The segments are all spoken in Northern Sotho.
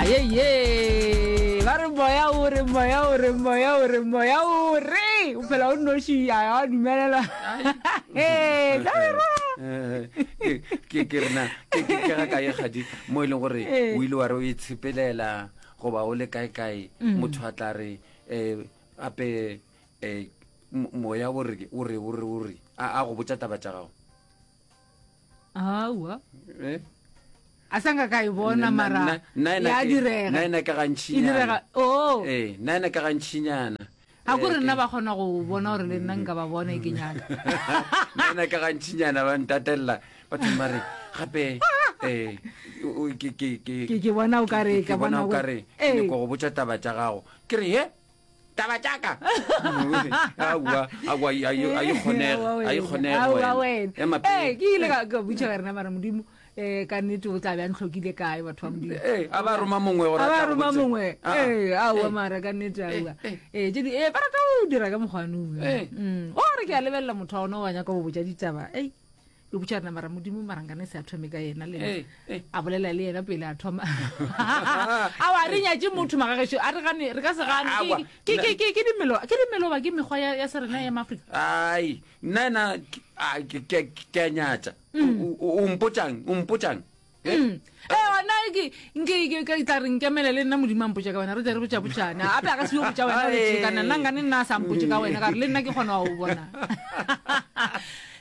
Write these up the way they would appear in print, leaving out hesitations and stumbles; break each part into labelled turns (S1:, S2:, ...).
S1: Ayeye, ba re moya o re moya o re moya o re moya o re o phela o nnoši a a dumelela. Ee, tla re ra.
S2: Eh, ke ke ke rena ke ke ke ga kae gadi mo e leng gore
S1: Ee.
S2: o ile wa re o itshepelela goba o le kae kae
S1: Mm.
S2: motho a tla re eh ape eh mo- moya o re o re o re o re a a go botša taba tša gago
S1: Aowa.
S2: Eh?
S1: A sa nka ka e bona mara ya direga.
S2: Nna ena ka
S1: E
S2: gantšinyana.
S1: direga. Oh.
S2: Eh, nna ena ka gantšinyana.
S1: A ko re
S2: Eh,
S1: nna ba kgona go bona gore le nna nka ba bona e ke nyaka.
S2: nna ena ka gantšinyana ba ntatelela batho ba re gape eh o- o- ke ke ke
S1: Ke ke bona o ka re
S2: ke
S1: ka
S2: bona
S1: bona
S2: o ka re ke
S1: Eh.
S2: nyaka go botša taba tša gago ke re he taba tšaka aowa aowa a e kgonege a e kgonege
S1: Aowa wena.
S2: ema
S1: Ee,
S2: pele
S1: ke ile ka ka botša ka rena mara modimo um ka nnete o tla be a ntlhokile kae batho ba modimo
S2: ee a ba roma mongwe gore
S1: a
S2: a
S1: ba
S2: tla go
S1: roma
S2: botse.
S1: mongwe
S2: Ah, ah.
S1: ee aowa
S2: Eh.
S1: mara ka nnete aowa
S2: eh.
S1: ee tse di ee ba rata go dira ka mokgwane
S2: Eh.
S1: o re ke a lebelela motho wa ona wa nyaka go botša ditaba ei ke botša rena mara modimo mara nkane se a thome ka yena le
S2: Eh, eh.
S1: a bolela le yena pele a thoma awa re nyatše motho magagešo a re gane re ka se gane
S2: Awa,
S1: Ke- ke- ke- ke dimelo ke dimelo ba ke mekgwa ya ya serena ya maaforika
S2: ai nna ena ke- a, ke- ke ke a nyatša O- o o mpotšang o mpotšang Eh?
S1: Mm. Ee, gona ke nke ke ke tla re nkemele le nna modimo a mpotša ka wena re tle re botša botšane ape a ka se yo botša wena re tše kana nna nkane nna a sa mpotše ka wena ka re le nna ke kgona go bona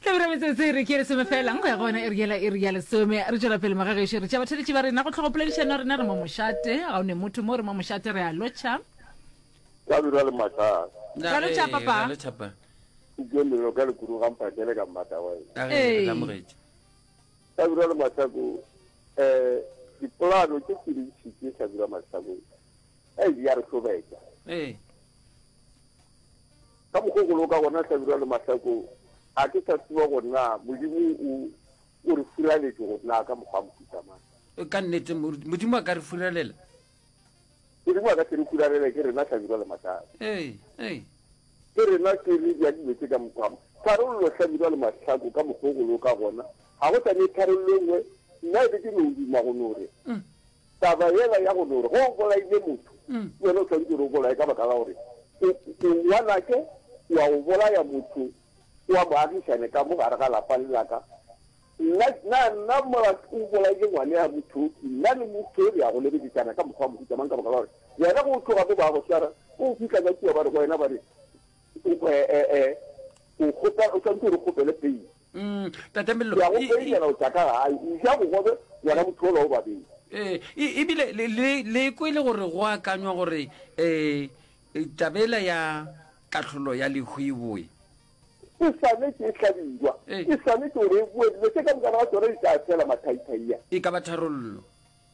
S1: tlabira metsotso e re ke lesome fela nko ya go wena e re yela e re ya lesome re tšwela pele magagešo re tša batheletši ba rena go tlhogopoledišano rena re mo mošate ga o ne motho mo re mo mošate re a lotšha
S3: Hlabirwa le Mahlase.
S1: Ra lotšha, papa.
S2: Ra lotšha, pa.
S3: Ke lelo ka lekuru ga mpakele ka mmata wa ena.
S2: A re
S1: Ee.
S2: re amogetše.
S3: Hlabirwa le Mahlako eh dipolano tše tše dintši tše Hlabirwa Mahlako ei di a re hlobetša.
S2: Ee.
S3: Ka mokgwa o go loka gona Hlabirwa le Mahlako a ke sa tseba gore na Modimo o o re furaletše gore na ka mokgwa wa mohuta mang.
S2: Ka nnete Modimo a ka re furalela.
S3: Modimo a ka se re hularele, ke rena Hlabirwa le Mahlako.
S2: Ee, ee.
S3: Ke rena ke re bja dilo tše ka mokgwa. Tharollo Hlabirwa le Mahlako ka mokgwa o go loka gona. Ga go sa ne tharollo e nngwe, nna e be ke no duma go no re taba yela ya go no re ge o bolaile motho, ke wena o swanetše gore o bolaye ka baka la gore o, o ngwanake, wa go bolaya motho wa moagišane ka mo gare ga lapa le la ka. Nna, na nna mola o bolaile ngwane ya mothoki, nna le motho re ya go lebedisana ka mokgwa wa mohuta mang ka baka la gore wena go tloga mo ba go swara, o fihla ka kua ba re go wena ba re o, e, e, e, o kgopela, o swanetše gore o kgopele peile.
S2: Mm, Tate Mello,
S3: Ke ya go
S2: e- e-
S3: peilela o tša ka gae, o ja bogobe ngwana motho ola o babedi.
S2: Ee, e- ebile le, le, le kwele gore go akanywa gore um tabela ya kahlolo ya lehu e boe.
S3: E swanetše e hlabirwa.
S2: Ee.
S3: E swanetše gore e boe. Dilo tše ka mokana ga tšona di tla fela mathaithai a.
S2: E ka ba tharollo.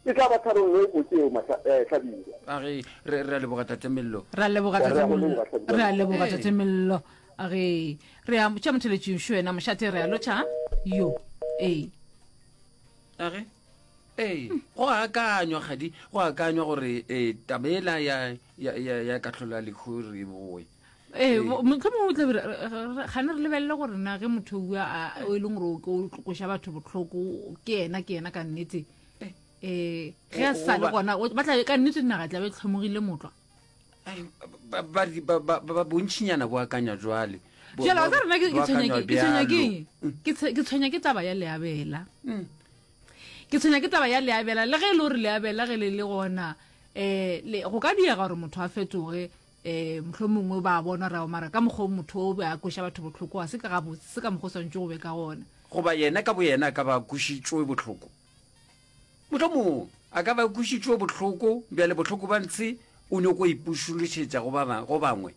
S3: E tla ba tharollo e botse eo, mahla, eh, Hlabirwa.
S2: A ge, re, re a leboga Tate Mello.
S1: Re a leboga
S3: Re
S1: Tate
S3: a go
S1: Mello.
S3: leboga, Hlabirwa.
S1: Re a leboga
S2: Ee.
S1: Tate Mello. A ge, re a tša motheletši šo wena mošate re a lotšha. Yo. Ee.
S2: A ge, ee, go akanywa kgadi, go akanywa gore eh, taba ela ya, ya, ya, ya kahlolo ya lehu re e boe.
S1: Ee, mohlomongwe o tla be gane re lebelele gore na ge motho o o e leng gore o koša batho bohloko ke yena ke yena ka nnete um ge a sa le gona ba tla ka nnete naga tla be tlhomogile motlwa
S2: ba bontšhinyana bo akanya jwale
S1: jale wa rena ke tshwenya keng ke tshwenya ke taba ya leabela mm. ke tshwenya ke taba ya leabela le ge e le gore leabela ge le le gona um go ka diega gore motho a fetoge um mohlomongwe ba bona gore mara ka mokgwa o motho o be a kweša batho bohloko ga se ka gabotse se ka mokgwa o swantšwe go be ka gona.
S2: Goba yena ka boyena a ka ba a kwešitšwe bohloko. Mohlomongwe a ka ba a kwešitšwe bohloko, bjale bohloko ba ntshe o nyoko ipušološetša go ba go bangwe.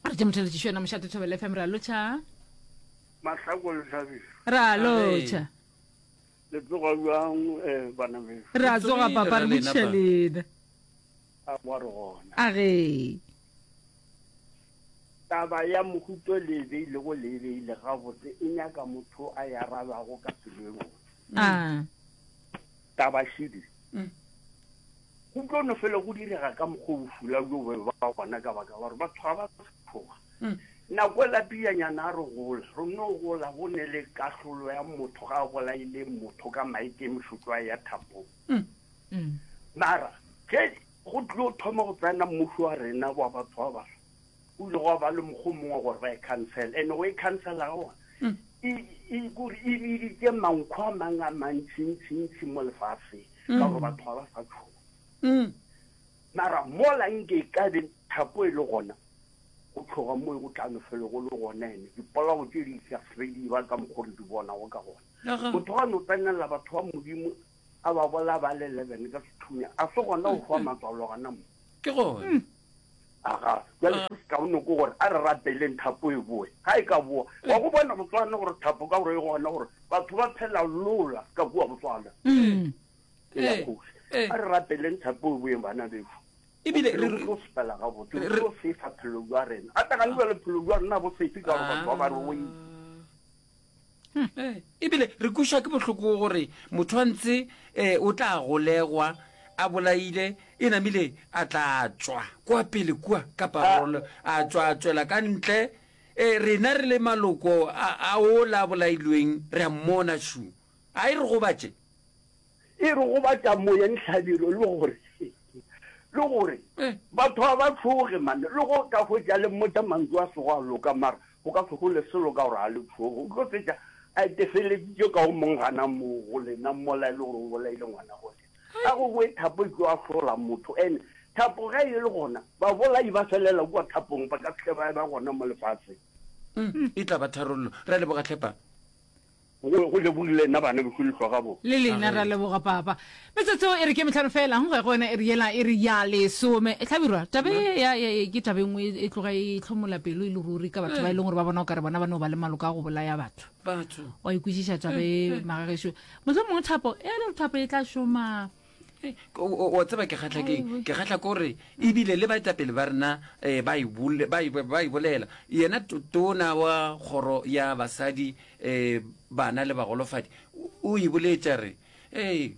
S1: Re tše motheletšišo yena Mošate Thobela FM, re a lotšha.
S4: Mahlako le Hlabirwa.
S1: Re a lotšha.
S4: Le tsoga bjang eh, bana bešo?
S1: Re a tsoga papa, re botšiša lena.
S4: A wa re gona.
S1: A ge.
S4: Taba ya mohuto le e beilego le e beile gabotse e nyaka motho a e arabago ka pelo e botse.
S1: A.
S4: Taba šidi. Go tlo no fela go direga ka mokgwa o bošula bjo be ba gona ka baka la gore batho ga ba tshoga. Nako e lapiyanyana a re gola, re no gola go ne le kahlolo ya motho ga a bolaile motho ka maikemišetšo a ya thapong. Mara. Ge go tlilo thoma go tsena mmušo wa rena wa batho ba baso, go ile gwa ba le mokgwa o mongwe gore ba e khansele. And go e khansela ga gona, e, e, kore e biditše mankho a mang a mantšintšintši mo lefaseng, ka gore batho ga ba sa tšhoga. Mara mola nke e ka be thapo e le gona, go tšhoga mo go tla no fele go le gona, ene dipolao tše di sa se di ba ka mokgwa re di bonago ka gona. Motho ga no tsenelela batho ba Modimo a ba bolaya ba le 11 ka sethunya, a se gona go hwa matswalo gana mo.
S2: Ke gona.
S4: Aga, bjale se se kaone ke gore a re rapeleng thapo e boe. Ga e ka boa, wa go bona Botswana gore thapo ka gore e gona gore batho ba phela lola ka kua Botswana. E ya kgoši. A re rapeleng thapo e boeng bana bešu.
S2: Ebile
S4: re tlo sepela gabotse, re tlo sefa phelo bja rena. A tagane bjale phelo bja rena bo sefe ka gore batho ba ba re oile.
S2: Ebile re kušwa ke bohloko gore motho wa ntse um o tla golegwa a bolaile e namile a tla tšwa kwa pele kua ka parole a tšwa a tšwela ka ntle um rena re le maloko a ola a bolailweng re a mmona šu a e re gobatše
S4: E re gobatša moyeng hlabirwe le gore le gore batho ga ba tšhoge mane le go ka hwetša le mmotša mantšu a sego a loka mara go ka se hole selo ka gore ga le tšhoge o tlo fetša a itefeleditše ka o mong gana moo go lena mola e le gore o bolaile ngwana go lena a go boe thapo e tlo ahlola motho ene thapo ge e le gona babolai ba felela kua thapong ba ka se tle ba ba gona mo lefaseng.
S2: E tla ba tharollo. Re a leboga tlhe pa.
S4: Go, go lebogile nna bana bešo le hloga bo.
S1: Le lena ra leboga papa. Metsotso e re ke metlhano fela go ya go yona e re yela e re ya lesome. E hlabirwa taba e ya ya ke taba e nngwe e tloga e hlomola pelo e le ruri ka batho ba e leng gore ba bona o kare bona ba no ba le maloka a go bolaya batho.
S2: Batho.
S1: Wa ikwešiša taba e magagešo. Mohlomongwe thapo e le thapo e tla šoma.
S2: O tseba ke kgahla keng? Ke kgahla ke gore ebile le baetapele ba rena um ba e ba e bolela. Yena tona wa kgoro ya basadi um bana le bagolofadi o e boletše a re, Ee,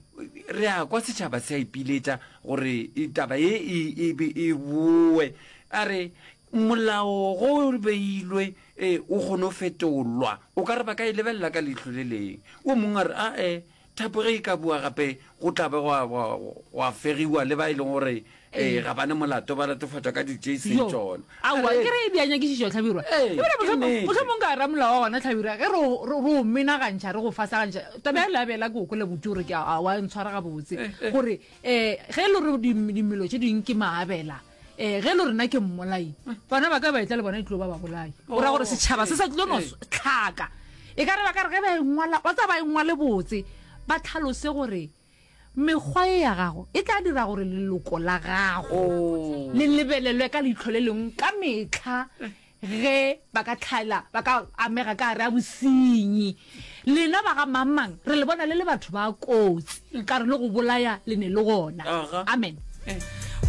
S2: re a kwa setšhaba se a ipiletša gore taba ye e, e, e boe. A re molao go o beilwe um o kgone go fetolwa, o ka re ba ka e lebelela ka leihlo le leng. O mongwe a re, ae, Thapo ge e ka bua gape go tla be gwa, gwa, gwa fegiwa le ba e leng gore eh, ga ba ne molato ba latofatšwa ka dilo tše e seng
S1: Yo.
S2: tšona.
S1: Aowa,
S2: A re,
S1: ke re e bea nyakišišo, Hlabirwa.
S2: Ee,
S1: Ebile
S2: ke
S1: mohlomong,
S2: nnete.
S1: mohlomong ka ramolao wa gona, Hlabirwa, ge re o, re, re o menagantšha, re go fasagantšha, taba ya leabela ke o kwele botse gore ke a, a wa ntshwara gabotse.
S2: Eh, eh.
S1: Gore, eh, ge e le gore di, dimelo tše ding ke maabela, eh, ge e le gore nna ke mmolai, bana ba ka ba etla le bona e tlo ba babolai. Go ra gore
S2: Oh,
S1: setšhaba se
S2: ee,
S1: sa tlilo no
S2: ee.
S1: tlhaka. E ka re ba ka re ge ba e ngwala, wa tseba ba e ngwale botse, ba tlhalose gore mekgwa ye ya gago e tla dira gore leloko la gago
S2: Oh.
S1: le lebelelwe ka leihlo le lengwe ka mehla ge ba ka tlhaela, ba ka amega ka gare a bosenyi. Lena ba ga mang-mang, re le bona le le batho ba kotsi, ka re le go bolaya le ne le gona.
S2: Aga.
S1: Amen.
S2: Eh.